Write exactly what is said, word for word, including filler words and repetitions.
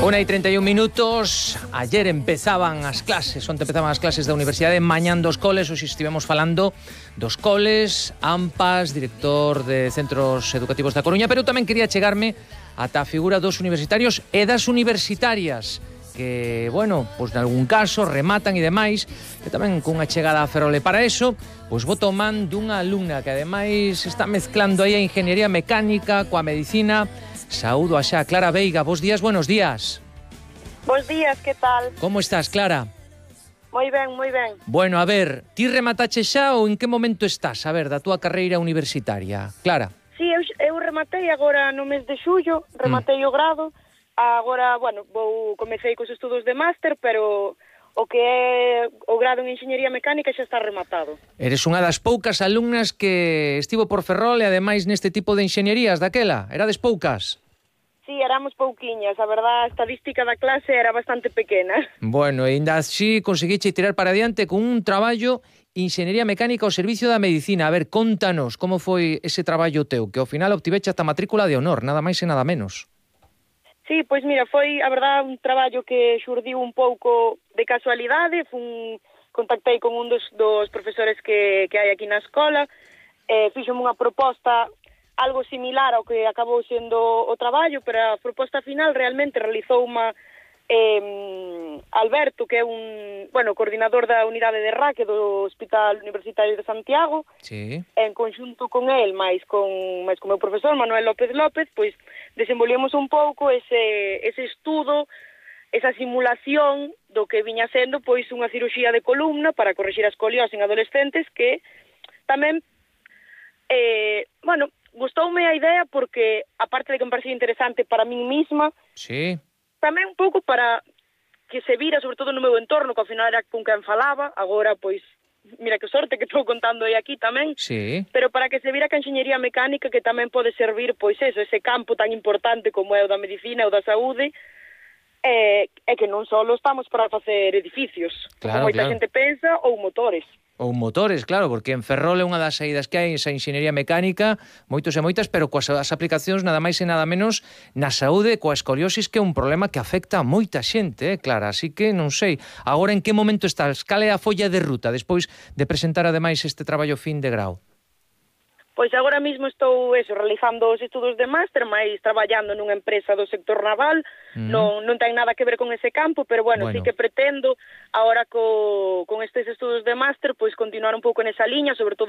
Una y treinta y un minutos. Ayer empezaban as clases, onte empezaban as clases da Universidade, mañán dos coles. Hoxe estivemos falando dos coles, AMPAs, director de Centros Educativos da Coruña, pero tamén quería chegarme ata a figura dos universitarios e das universitarias, que, bueno, pois nalgún caso rematan e demais, que tamén cunha chegada a Ferrol. E para eso, pois vou tomando dunha alumna que ademais está mezclando aí a ingeniería mecánica coa medicina. Saúdo a xa Clara Veiga. Bos días, buenos días. Bos días, que tal? Como estás, Clara? Moi ben, moi ben. Bueno, a ver, ti rematache xa ou en que momento estás, a ver, da túa carreira universitaria? Clara. Sí, eu, eu rematei agora no mes de xullo, rematei mm. o grado. Agora, bueno, vou comecei cos estudos de máster, pero o que é o grado en Enxeñería Mecánica xa está rematado. Eres unha das poucas alumnas que estivo por Ferrol e ademais neste tipo de enxeñerías daquela. Erades poucas? Sí, éramos pouquiñas. A verdad, a estadística da clase era bastante pequena. Bueno, e ainda así conseguiche tirar para adiante con un traballo Enxeñería Mecánica ao servicio da medicina. A ver, contanos como foi ese traballo teu, que ao final obtiveche ata matrícula de honor, nada máis e nada menos. Sí, pois mira, foi, a verdad, un traballo que xurdiu un pouco de casualidade. Fun, contactei con un dos, dos profesores que, que hai aquí na escola, eh, fixome unha proposta algo similar ao que acabou sendo o traballo, pero a proposta final realmente realizou unha eh, Alberto, que é un, bueno, coordinador da unidade de R A C do Hospital Universitario de Santiago. Sí. En conxunto con el, máis con, máis con o meu profesor Manuel López López, pois desenvolvemos un pouco ese, ese estudo, esa simulación do que viña sendo pois unha cirurxía de columna para corrixir a escoliose en adolescentes, que tamén, eh, bueno, gustoume a idea porque, aparte de que me parecía interesante para min misma, sí, tamén un pouco para que se vira, sobre todo no meu entorno, que ao final era con quen falaba. Agora, pois, mira que sorte que estou contando aí aquí tamén, sí, pero para que se vira que a enxeñería mecánica que tamén pode servir, pois eso, ese campo tan importante como é o da medicina ou da saúde, é, é que non só estamos para facer edificios, claro, como moita claro. xente pensa, ou motores. Ou motores, claro, porque en Ferrol é unha das saídas que hai esa enxeñería mecánica, moitos e moitas, pero coas as aplicacións nada máis e nada menos na saúde, coa escoliosis, que é un problema que afecta a moita xente, eh, Clara, así que non sei, agora en que momento estás, cal é a folla de ruta despois de presentar ademais este traballo fin de grau? Pois agora mesmo estou eso, realizando os estudos de máster, máis traballando nunha empresa do sector naval. Mm. non, non ten nada que ver con ese campo, pero bueno, bueno. sí que pretendo, agora co, con estes estudos de máster, pois continuar un pouco nesa liña, sobre todo